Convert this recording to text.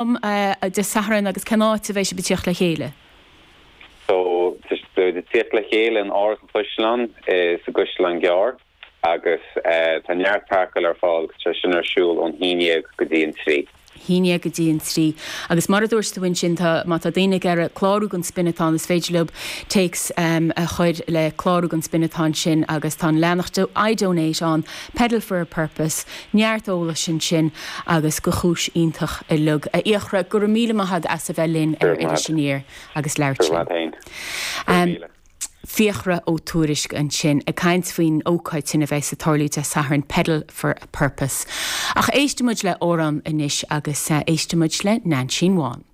Am Dé Sathairn agus cén áit a bheidh sibh ag tíocht le chéile? So, beidh ag tíocht le chéile in Áras an Chaisleáin sa gCaisleán Gearr agus tá neart páirceáil ar fáil agus tá sin ar siúl ón haon dhéag go dtí an trí. Haon dhéag go dtí an trí. Agus mar a dúirt tú ansin, tá, má tá daoine ag iarraidh clárú don Spin-a-thon is féidir leo téacs a chur le clárú don Spin-a-thon sin agus tá an leathanach iDonate ann, Pedal for a Purpose, Neart eolais ansin agus do chúis iontach uilig. A Fhiachra, go raibh míle maith agat as a bheith linn ar Iris Aniar agus labhairt linn. Fiachra Ó Tuairisg ansin ag caint faoin ócáid sin a bheas ag tarlú Dé Sathairn, Pedal for a Purpose. Ach éistfidh muid le amhrán anois agus éistfidh muid le Neainsín Bhán.